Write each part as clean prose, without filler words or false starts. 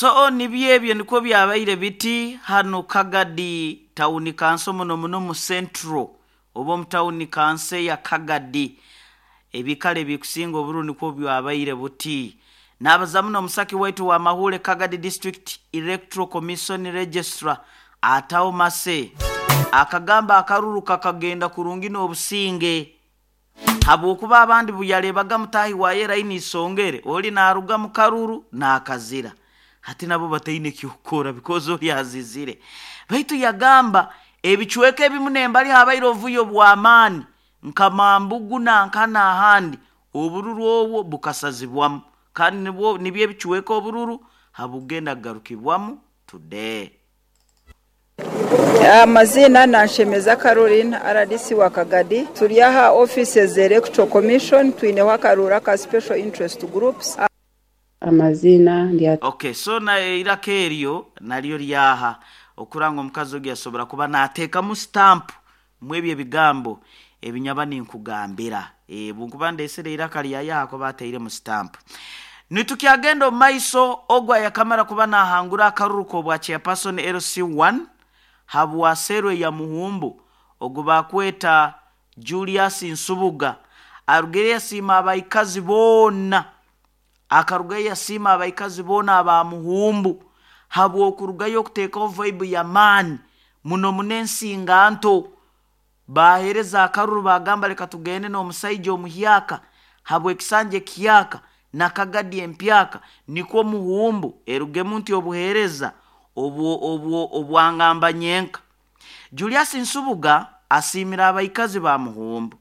So nibyo ebyo nikwo byabaire biti hanu Kagadi tawuni kanso muno muno mu Central oba omu tawuni kanso eya Kagadi. Ebikaro ebikusinga obururu nikwo byabaire buti. Nabaza muno omusaki waitu wa Mahuule Kagadi District Electoral Commission Registrar Atao Mase akagamba akaruru kakagenda kurungi n'obusinge habwokuba abandi buyarebaga mutaahi waye line isongere oli naruga mu karuru nakazira hati nabo bataine ekyokukora because oli azizire. Baitu yagamba ebicweka ebimu nembali habaire obuvuyo bw'amaani nka Mambugu nanka n'ahandi obururu obwo bukasazibwamu kandi nibwo nibyo ebicweka obururu habugenda kugarukibwamu today. Amaziina Nanshemeza Caroline, rdc wa Kagadi. Turi aha offices za Electoral Commission, twineho akaruuru aka Special Interest Groups. Amaziina ndi. Ok, so na eiraka eryo naryo ryaha okuranga omukazi ogu yasobora kuba nateekamu stamp mwebyo ebigambo ebinyaba ninkugambira. Bunkuba ndesere eiraka ryaye aha kuba atairemu stamp. Nitukyagenda omu maiso, ogu ayakamara kuba nahangura akaruru k'obwa chairperson LC1 habwa Serwe ya Muhumbu ogu bakweta Julius Nsubuga arugire yasiima abaikazi boona akarugayo yasiima abaikazi boona aba Muhumbu habw'okurugayo okuteekaho vibe y'amaani muno muno ensinganto bahereza akaruru bagamba leka tugende n'omusaija omuhyaka habw'ekisanja ekihyaka na Kagadi empyaka nikwo Muhumbu erugemu nti obuheereza obwangamba nyenka. Julius Nsubuga asiimire abaikazi ba Muhumbu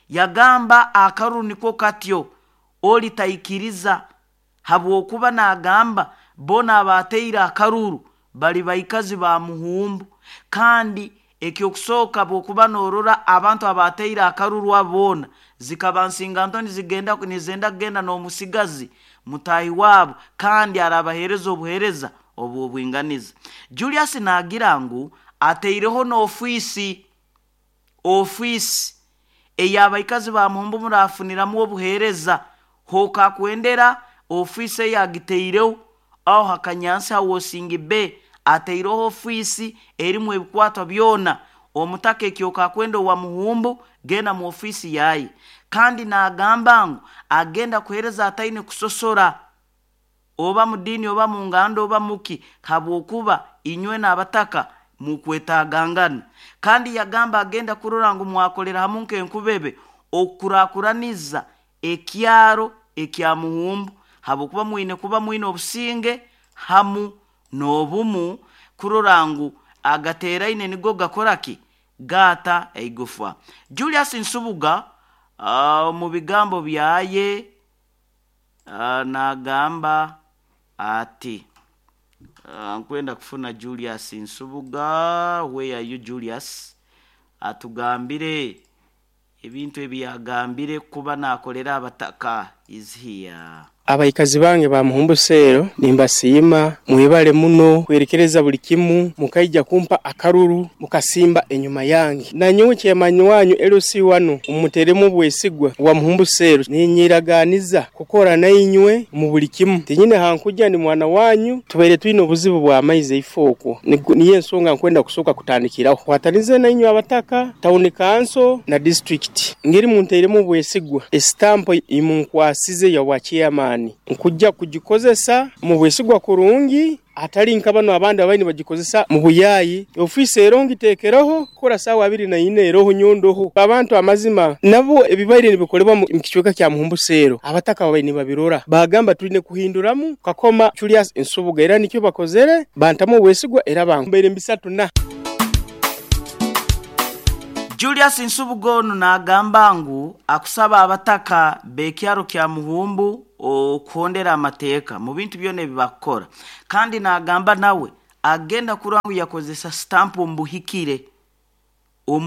yagamba akaruru nikwo katyo oli taikiriza habwokuba nagamba boona abateire akaruru bali baikazi ba Muhumbu kandi ekyokusooka bwokuba norora abantu abateire akaruru abo boona zikaba nsinganto nizigenda nizenda kugenda n'omusigazi mutaahi waabo kandi arabaheereza obuheereza obw'obwinganiza. Julius naagira ngu ataireho n'ofiisi ofiisi ey'abaikazi ba Muhumbu murafuniramu obuheereza hokakwendera ofiisi eyagitaireho aho Hakanyansi Hawosingi Bay ataireho ofiisi erimu ebikwatwa byona omutaka ekyokakwenda owa Muhumbu genda mu ofiisi yaye kandi nagamba ngu agenda kuheereza ataine kusosora oba mu diini oba mu nganda oba muki habwokuba inywe n'abataka mukwetagangana kandi yagamba agenda kurora ngu mwakolera hamu nk'enkubebe okukurakuraniza ekyaro ekya Muhumbu habwokuba mwine kuba mwine obusinge hamu n'obumu kurora ngu agateraine nigo gakora ki gaata eigufa. Julius Nsubuga mu bigambo byaye nagamba ati nkwenda kufuna Julius Nsubuga. Where are you, Julius? Atugambire ebintu ebi yagambire kuba nakolera abataka. Is here. Abaikazi bange ba Muhumbu Seero nimbasiima, mwebale muno kwerekereza buli kimu mukaija kumpa akaruru mukasimba enyuma yange. Nanyowe chairman wanyu LC1 umuteremu obwesigwa wa Muhumbu Seero, ninyiraganiza kukora nainywe mu buli kimu. Tinyine hankuja ni mwana wanyu, tubaire twine obuzibu bwa maize ifoko. Niyo ensonga nkwenda kusoka kutandikiraho. Kwatanize nainywe abataka, town council na district. Ngeri munteremu obwesigwa, estampo imunkwasize ya wa chairman. Nkujja kugikozesa mu bwesigwa kurungi, atali nka bano abandi abaini bagikozesa mu buyayi. Ofisi ero ngitekereho kora sawa 24 eroho nyondoho. Abantu amazima nabo ebibaire nibikolebwa mu kicweka kya Muhumbu Seero abataka babaire babirora bagamba tuline kuhinduramu kakoma Julius Nsubuga, era nikyo bakozere bantamu obwesigwa era bambaire mbisatu na Julius Nsubuga ono nagamba ngu akusaba abataka b'ekyaro kya Muhumbu okuhondera amateeka mu bintu byona ebibakukora kandi nagamba nawe agenda kurora ngu yakozesa stamp omu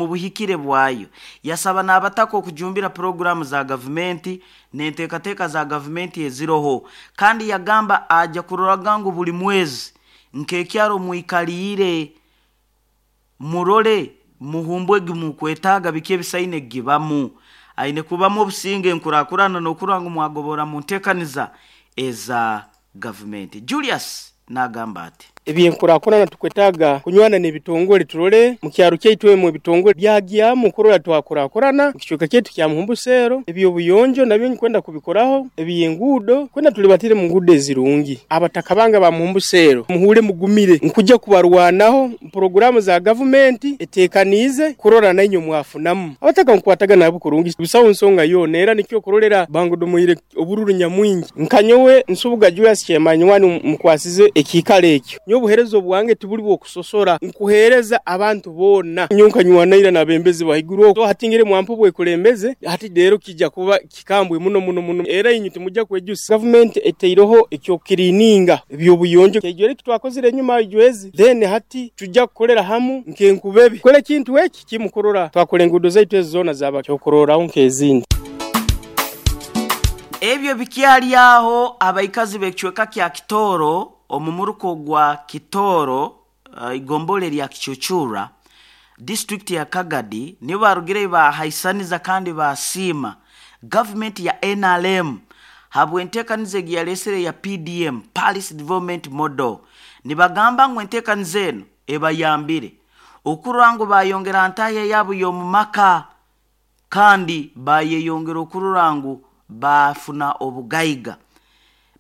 buhikire bwayo. Yasaba n'abataka okujumbira puroguramu za gavumenti n'enteekateeka za gavumenti eziroho kandi yagamba aja kuroraga ngu buli mwezi nk'ekyaro mwikaliire murole Muhumbu egi mukwetaaga biki ebisaine gibamu aine kubamu obusinge enkurakurana n'okurora ngu mwagobora mu nteekaniza eza gavumenti. Julius N'agamba ati. Ebyenkurakurana tukwetaaga kunywana n'ebitongole turole mu kyaro kyaitu emu ebitongole byagyamu kurora twakurakurana mu kicweka kyaitu kya Muhumbu Seero. Eby'obuyonjo nabyo nkwenda kubikoraho, eby'enguudo kwenda tulibatire mu nguudo ezirungi. Abataka bange ba Muhumbu Seero muhuure mugumire, nkujja kubarwanaho puroguraamu za gavumenti eteekaniize kurora nainywe mwafunamu. Abataka nkukwatagana nabo kurungi, busaho nsonga yoona, era nikyo kurolera bangodomoire obururu nyamwingi. Nka nyowe Nsubuga Julius Kyemanywani mukwasize ekiikaro ekyo. Nyowe obuheereza obwange tibuli bw'okusosora, nkuheereza abantu boona. Nyowe nkanywana n'abembezi bahaiguru okwo, hati ngire mwampa obwekulembeze, hati leero kijja kuba kikambwe muno muno muno, era inywe timujja kwejusa. Gavumenti etaireho eky'okukiriininga eby'obuyonjo, ekyo eki twakozire enyuma ijwezi, then hati tujja kukolera hamu nk'enkubebe. Kukora ekintu eki kimu kurora twakora enguudo zaitu ezi zoona zaba kyokurorraho nk'ezindi. Ebyo bikyali aho, abaikazi b'ekicweka kya Kitooro omu muruka ogwa Kitooro, igombolola erya Kicucura, disiturikiti ya Kagadi nibo barugireyo bahaisaniza kandi baasiima gavumenti ya NRM habw'enteekaniza egi yaleesere eya PDM, Parish Development Model. Nibagamba ngu enteekaniza enu ebayambire okurora ngu bayongera ha ntahya yaabo y'omu maka kandi bayeyongera okurora ngu baafuna obugaiga.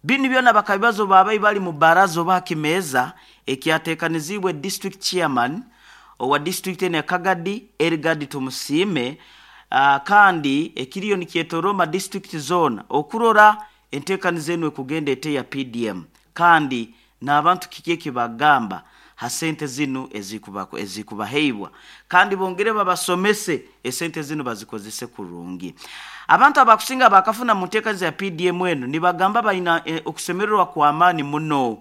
Binu byona bakabibaza obu baabaire bali mu baraza oba ha kimeeza ekyateekaniziibwe district chairman owa disiturikiti enu ya Kagadi, Elgard Tumusiime kandi ekiriyo nikyetorooma disiturikiti zoona okurora enteekaniza enu ekugenda eta eya PDM kandi n'abantu kiki eki bagamba ha sente zinu ezikubaheibwa kandi bongere babasomese esente zinu bazikozese kurungi. Abantu abakusinga abakafuna mu nteekaniza ya PDM enu nibagamba baina okusemererwa kw'amaani muno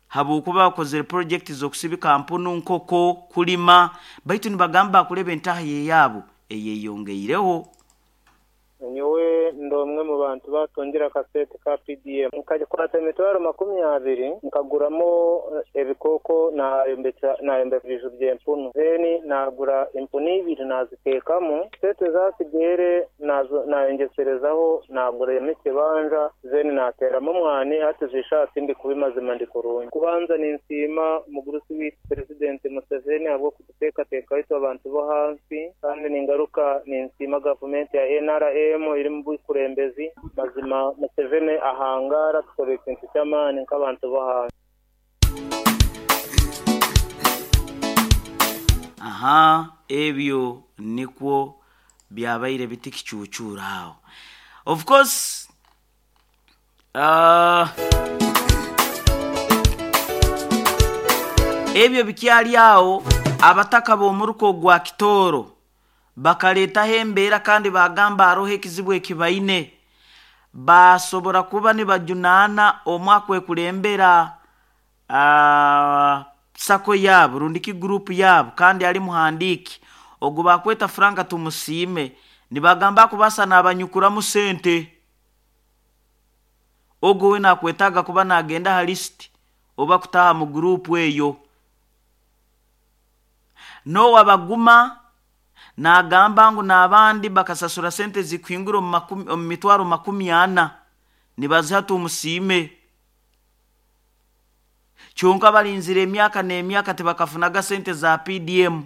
habwokuba bakozere purojekiti z'okusibika mpunu, nkoko, kulima baitu nibagamba bakuleba entahya eyaabo eyeyongeireho. Nyowe ndi omwe mu bantu baatungire akasente ka PDM. Nkakwata emitwaro 20 nkaguramu ebikooko nayombeka ebiju by'empunu. Then nagura empunu ibiri naziteekamu. Sente ezatsigaire nayongyeserezaho naguramu ekibanja then nateeramu omwani hati zishaaha tindi kubi mazima ndi kurungi. Kubanza ninsiima omugurusi waitu Purezidenti Museveni ahabw'okututeekateekaho itwe abantu b'ahansi kandi ningaruka ninsiima gavumenti ya NRM eri omu bukulembezi. Mazima Museveni ahangaara atukorera ekintu ky'amaani nk'abantu b'ahansi. Aha, ebyo nikwo byabaire biti kicuucuura aho. Of course, ebyo bikyali aho, abataka b'omuruka ogwa Kitooro bakaleetaho embeera kandi baagamba haroho ekizibu eki baine. Baasobora kuba nibajunaana omwe akwekulembera sacco yaabo rundi ki guruupu yaabo kandi ali muhandiiki ogu baakweta Frank Tumusiime nibagamba akubaasa naabanyukuramu sente. Ogu we nakwetaaga kuba naagenda aha lisiti oba kutaaha mu guruupu eyo. N'owa Baguma naagamba ngu n'abandi bakasasura sente ezikuhingura omu mitwaro 40 nibaziha Tumusiime. Kyonka barinzire emyaka n'emyaka tibakafunaga sente za PDM.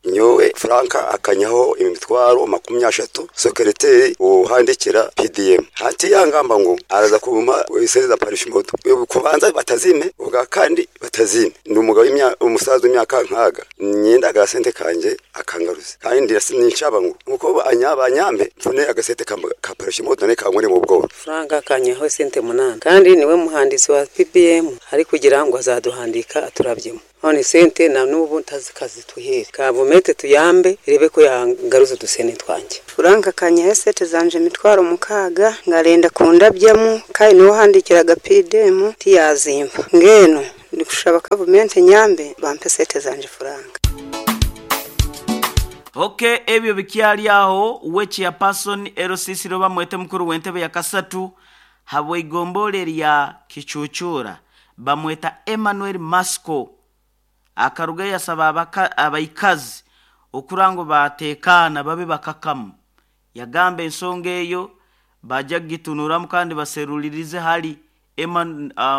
Nyowe Frank akanyaho emitwaro 30, sekereteri ohandikira PDM. Hati yangamba ngu araza kumpa esente za parish model. Kubanza batazime, ubwa kandi batazime. Ndi umugabo umusaza w'imyaka nkaga. Nyenda agasente kanje akangaruza. Kandi ninshaba ngu nkuko banyambe mfune agasente ka parish model ne kankore mu bwoba. Frank akanyaho sente 8 kandi niwe muhandisi wa PPM ari kugira ngo azaduhandika aturabyemo. None sente na n'ubu ntazikazituhere. Gavumenti tuyambe irebe ko yangaruza udusene twanjye. Frank akanyaho sente zanje emitwaro 6 ngarenda kundabyemu kandi niwe handikiraga PDM tiyazimba. Ngeno ndikushaba gavumenti nyambe bampe sente zanje Frank. Okay, ebyo bikyali aho we chairperson LCC roba mwete mukuru w'entebe ya kasatu habwe igombole lya Kicucura bamweta Emmanuel Masco akaruga yasaba abaikazi okurango batekana babe bakakamu. Yagamba ensonga eyo bajja kugitunuramu kandi baserulirize hali Emma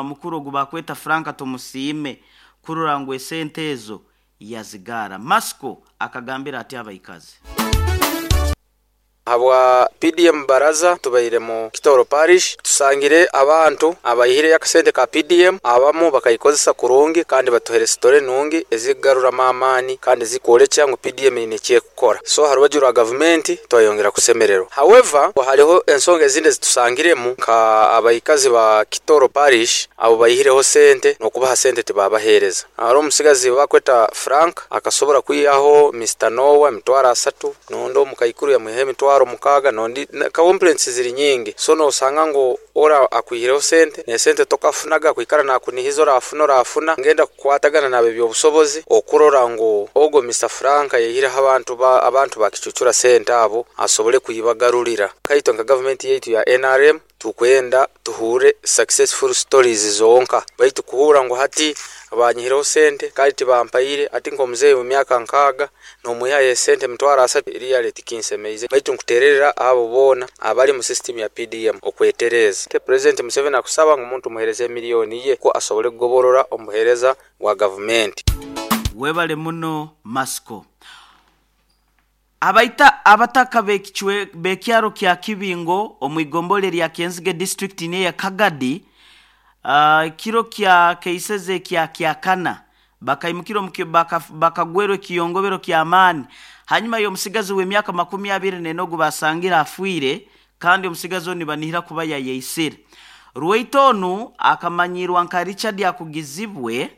mukuru ogu bakweta Frank Tumusiime kurora ngu esente ezo yazigara. Masiko akagambira ati abaikazi. Habwa PDM Baraza tubaire mu Kitoro Parish, tusangire abantu abaihireyo akasente ka PDM, abamu bakaikozesa kurungi kandi batuhere story nungi ezikugaruramu amaani kandi zikuolekya ngu PDM eine ekyekukora. So ha rubaju rwa gavumenti twayongera kusemererwa. However, hariho ensonga ezindi ezitusangiremu nka abaikazi ba Kitoro Parish abo baihireho sente n'okubaha sente tibabahereza. Hariho omusigazi bakweta Frank akasobora kwihaho Mr. Noah 30,000, nondi omukaikuru yamwihaho 60,000, nondi complaints ziri nyingi. So nosanga ngu ora akwihireho sente nesente tokafunaga kwikara nakunihiza orafuna ngenda kukwatagana nabe byobusobozi okurora ngu ogo Mr. Frank yahireho abantu bakicucura sente abo asobole kuyibagarurira. Kaito nka government yetu ya NRM tukwenda tuhure successful stories zonka, baitu kuhura ngu hati banyihireho sente kandi tibampaire ati nkomuzeeyi mu myaka 6 nomwihayo sente 30,000 really tikinsemeize, baitu nkutererera abo boona abali mu system ya PDM okwetereza. President Museveni akusaba ngu omuntu muhereze miliyoni ye ko asobole kugoborora omuhereza wa government. Webale muno Masiko. Abaita abataka bekyaro kya Kibingo omwigombole lya Kenzige district ne ya Kagadi, kiro kya keiseze kya kyakana bakaimukiro bakagwerwe kiyongobero kya amani hanyuma yo musigazi w'emyaka 24 basangira afwire, kandi omusigazi oni banihira kuba yayeisire. Ruwaitonu akamanyirwa nka Richard Akugizibwe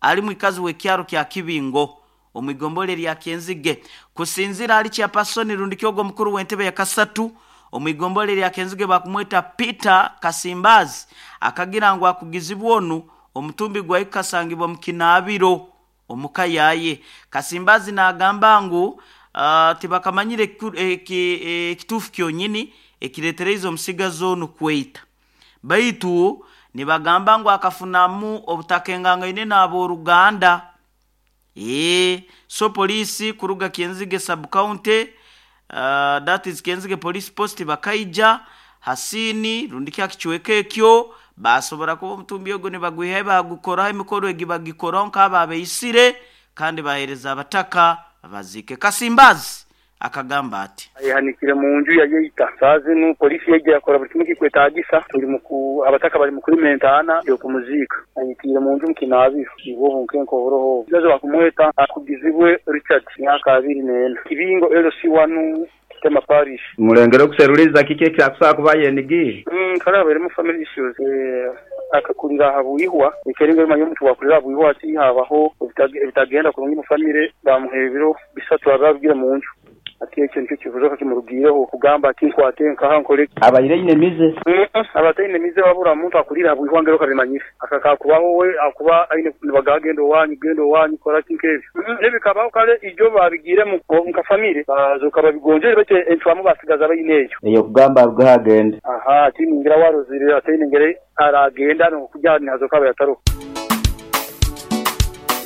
ali mwikazi w'ekyaro kya Kibingo omwigombole lya Kenzige. Kusinzira ali chairperson rundi kyogo mukuru w'entebe ya kasatu omwigombole lya Kenzige bakumweta Peter Kasimbazi akagira ngu akugizibwa onu omutumbi gwa ikasangibwa mukinabiro omukayaye. Kasimbazi nagamba ngu tibakamanyire ekitufu kyonyini ekiretereize omusigazi onu kweita, baitu nibagamba ngu akafunamu obutakengangaine n'aboruganda. So polisi kuruga Kenzige sub county, that is Kenzige police post bakaija hasini rundi kya kichweka ekyo basobora kuba omutumbi ogwo nibagwihayo bagukoraho emikoro egi bagikoraho nk'ababeisire kandi bahereza abataka bazike. Kasimbazi akagamba ati ayihanikire mu nju ya yeita sazinu polisi yeje yakora buli kimwe kikwetagisa tuli muku abataka bali mukuri mentana yo kumuzika ayitire mu nju mukinaabiro ibo bunkenko buroho jazo bakumweta Akugizibwe Richard myaka 24 Kibingo LC1 Kitema Parish. Mulengero kuseruliza kike kyakusa kuba yenigi kala bari mu family issues akakurira habuihwa ikeringo manyo mtu wakurira habuihwa ati habaho ebitagenda kurungi mu family bamuhebiro bisatu ababwira mu nju ati ekyo nicyo kivuze kimurugireho kugamba ati nkwate nkaha nkore abayire inemize abataine mize wabura muntu akurira habuihwa ngero kabimanyire akakakubaho we akuba aine nibagagenda owanyu genda owanyu kora kinkebyo nebikabaho kale ijo babigire mu nka family bazoka babigonjere bate entwamu basigaza bayineyo eyo kugamba rugagenda aha ati ningira warozire ati ningere aragenda no kujyana hazoka bayataro.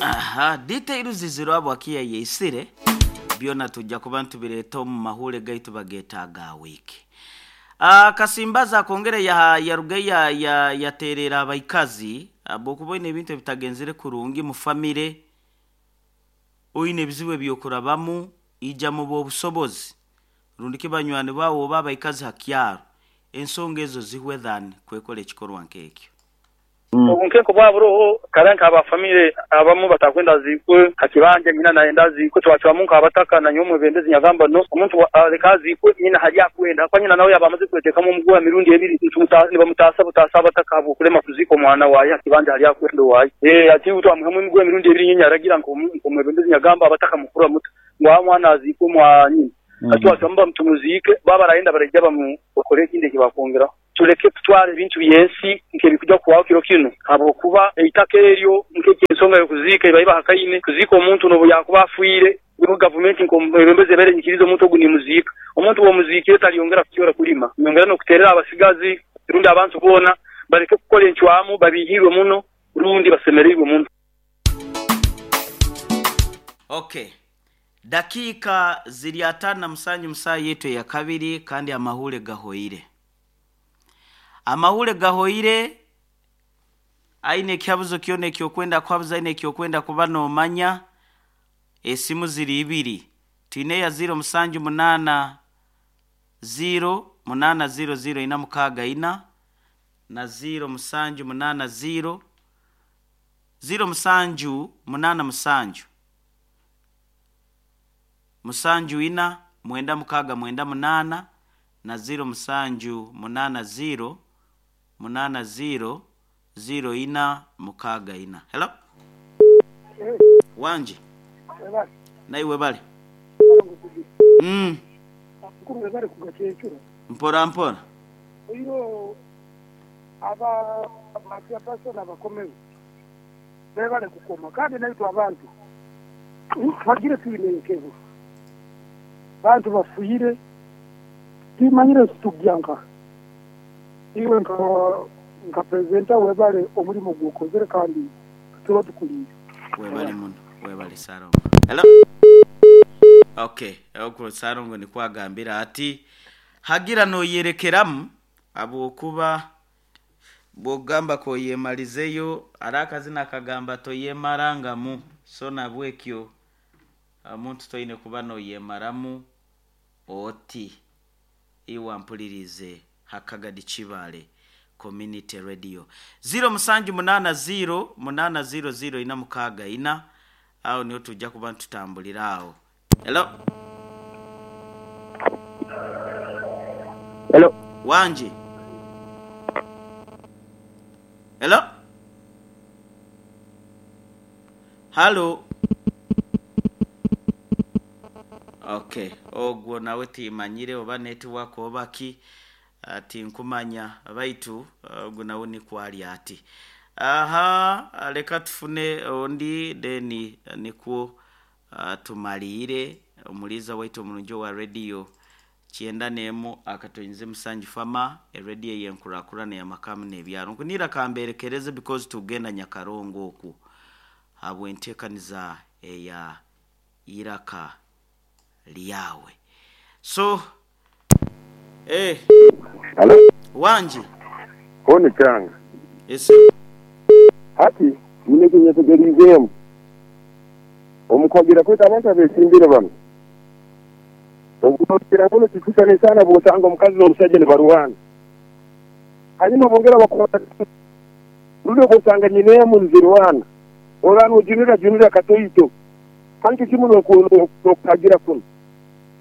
Aha details ziziro abo akiya yeisire byona tujja kuba ntubireta mu mahure gaitu bagetaga wiki. Kasimbaza kongere ya yaruge ya yaterera abaikazi abokubona ebintu bitagenzere kurungi mu family oyine bizibu byokurabamu ija mu bobusobozi rundi kibanywani bawo babaikazi hakyaro ensonga ezo zihwe than kwekole ekikorwa nkekyo. Obunkenko bwaburoho karanka aba family abamu batakwenda zikwe hakibanje nyina naenda zikwe twacwa munka abataka na nyomwe bendezi nyagamba no omuntu aleka zikwe nyina hali akwenda kwa nyina nawe yabamaze kweteka mu mugwa mirundi ebiri ntimutasa butasa abataka abo kulema kuziko mwana waye hakibanje hali akwenda waye ati utwa muhamwe mugwa mirundi ebiri nyina aragira ngo mwe bendezi nyagamba abataka mukura muto ngwa mwana azikwe mwa nyina atwa mba mtumuzike baba raenda barejya bamu bakore kinde kibakongera tureke tutware ibintu byensi nke kujya kuwaho kiro kino abo kuba eitaka eryo nke ensonga yo kuzika ibayiba hakayine kuzika omuntu no yakuba afuire niho government nkombembeze bere nyikirizo omuntu oguni muzika omuntu wo muziki taliyongera kucyora kulima nyongera no kuterera abasigazi rundi abantu bona bareke gukora encwamu babihirwe muno rundi basemererwe muno. Okay, dakika ziri 57 musaa yetu ya kabiri kandi amahure gahoire. Amahure gahoire Aine ekihabuzo kyona ekyokwenda kuhabuza, aine ekyokwenda kuba noomanya, esimu ziri ibiri. Twine eya 078 0 8 0 0 464 na 0780 07 87 74 96 98 na 07 80 80 04 64. Hello? Wangi. Naiwe bale. Mpora mpora. Oiro aba chairperson abakomeho bebale kukoma kandi naitwe abantu twagire twine enkebo. Bantu bafiire timanyire nti tugya nkaha. Iwe nka presenter webale omurimo gwokozire kandi tuba tukuliire. Webale muno, webale Ssalongo. Hello? Okay, okwo Ssalongo nikwo agambire ati hagira noyerekeramu habwokuba bwogamba koyemalizeyo hariho akazina akagamba toyemarangamu so nabwekyo omuntu toine kuba noyemaramu oti iwe ampuliriize ha Kagadi Kibaale Community Radio. 0780 800 464 aho niho tuja kuba nitutambulira aho. Hello? Hello. Wangi. Hello? Halo? Okay, ogwo nawe timanyire oba network oba ki tinkumanya baitu ogwo nawe nikwo ali ati. Aha, leka tufune ondi then nikwo tumaliire omuliiza waitu omurungi owa radio kyenda n'emu akatoinze musanju fama erediyo ey'enkurakurana ey'amakamu n'ebyaro. Nkunira kamberekereze because tugenda Nyakarongo okwo habw'enteekaniza eya Iraka Lyawe. So, eh. Halo. Wangi. Honi kyanga. Esebo. Hati nyine eki nyetegeriizeemu. Omu kuhagira kwaitu abantu abeesimbire banu, obu nokira muno tikisisana sana bw'osanga omukazi n'omusaija nibarwana. Hanyuma bongera bakwata rundi obwosanga nyina emu nizirwana, orora nojunira junira katoito. Kandi kimu n'okuhagira kunu.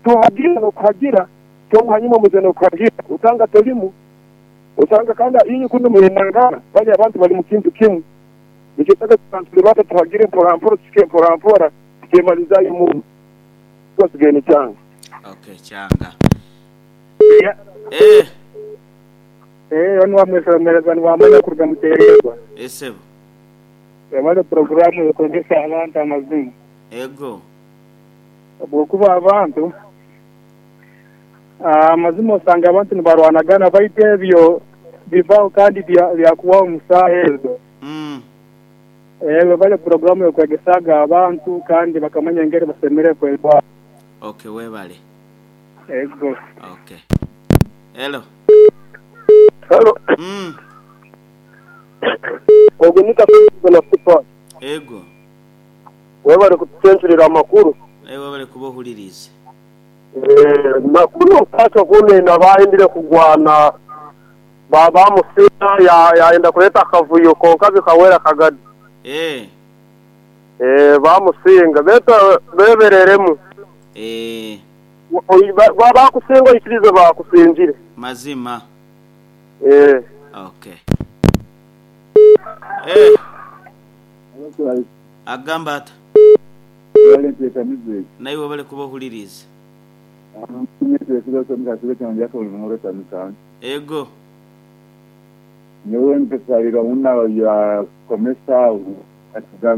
Tohagira n'okuhagira, kyonka hanyuma muze n'okuhagira, osanga tolimu, osanga kandi inywe kunu mulenangana, bali abantu bali mu kintu kimu. Nikyo tuli bato tuhagire mpora mpora, tusike mpora mpora, tukemalizayo muno. Twasigaye ni kyanga. Okay, kyanga. Eh. Eh, onu wamwesomereza niwamanya kuruga muteererwa. Esebo. Webale puroguraamu ekwegesa abantu amazima. Ego. Habwokuba abantu amazima osanga abantu nibarwanagana baitu ebyo bivaho kandi byakubaho omu saaha ezo. Webale puroguraamu ekwegesaga abantu kandi bakamanya engeri basemere kwetwara. Okay, webale. Ego. Okay. Hello. Hello. Ogwo ni na Fupa. Ego. Webale kutucenturira amakuru. Webale kuba ohuliriize. Makuru okukatwa kunena bayendire kugwana baba musina yayenda kuleta akavuyo konka bikawera Kagadi. Eh. Bamusinga beta bebereremu. Eh. Bakusinga ikirize bakusingire. Mazima. Eh. Okay. Eh. Agamba ata. Naiwe bale kuba ohuliriize. Ego. Nyowe nkasabira una ya komesa atugamba